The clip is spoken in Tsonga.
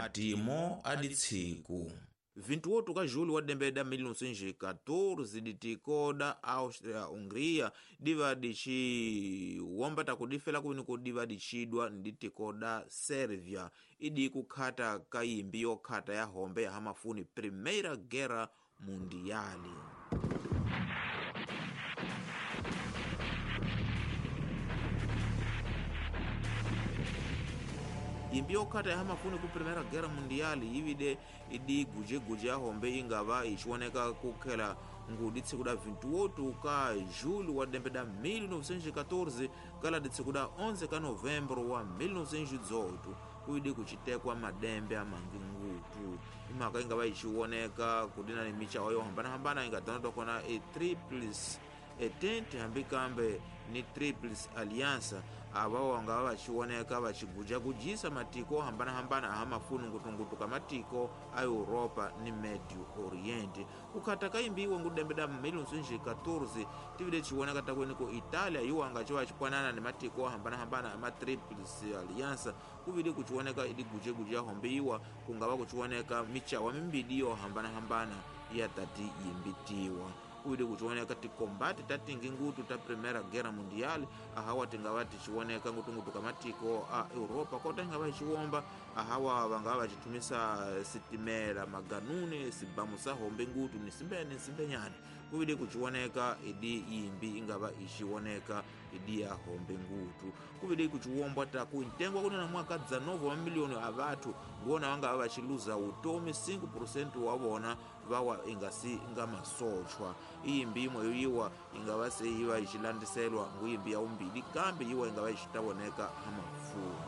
Matimo a ditsiku 28 ka julho wa dembe da 1914 ditiko da Áustria-Hungria diva diciwomba takudifela kuwiniko diva dicidwa nditiko da Sérvia idi kukhata kayimbi yokhata ya hombe ya hamafuni Primeira Guerra Mundial. Imbi yokhata ya hamafuni ku Primeira Guerra Mundial yivide idi gujeguje ya hombe ingava ichiwoneka kukhela ngudi tsiku da 28 ka julho wa dembe da 1914 kala ditsiku da 11 ka novembro wa 1918 kuidi kucitekwa madembe amangi ngutu. Imaka ingava ichiwoneka kudina ni michawa yohambanahambana ingadanodwa kona e Triplice Entente hambi kambe ni Triplice Aliança ava wangava vachiwoneka vachigujagujisa matiko ohambanahambana ahamafuni ngutungutu ka matiko a Europa ni Medio Oriente. Kukhata kayimbiwa ngudembe da 1914 tivile chiwoneka takweniko Itália iwanga ciwa cipwanana ni matiko ohambanahambana ama Triplice Aliança kuvili kuchiwoneka idi gujeguje yahombe iwa kungava kuchiwoneka michawa mimbidi yohambanahambana ya tati yimbitiwa. Kuili kuchiwoneka tikombate tatingi ngutu ta Primeira Guerra Mundial ahawa tingava tichiwoneka ngutungutu kamatiko a Europa kota ingava ichiwomba ahawa vangava vachitumisa sitimela maganune sibamu sa hombe ngutu ni simbene simbenyane. Kuvili kuchiwoneka idi yimbi ingava ichiwoneka idi ya hombe ngutu. Kuvili kuchiwombwa taku ntengwa kunena mwaka 19 wa miliyoni a vathu ngona vangava vachiluza utomi 5% wa vona vawa ingasi nga masochwa. Iyimbi imwe yoyiwa ingava seiva ichilandiselwa nguyimbi ya umbili kambe yiwa ingava ichitawoneka hamafumu.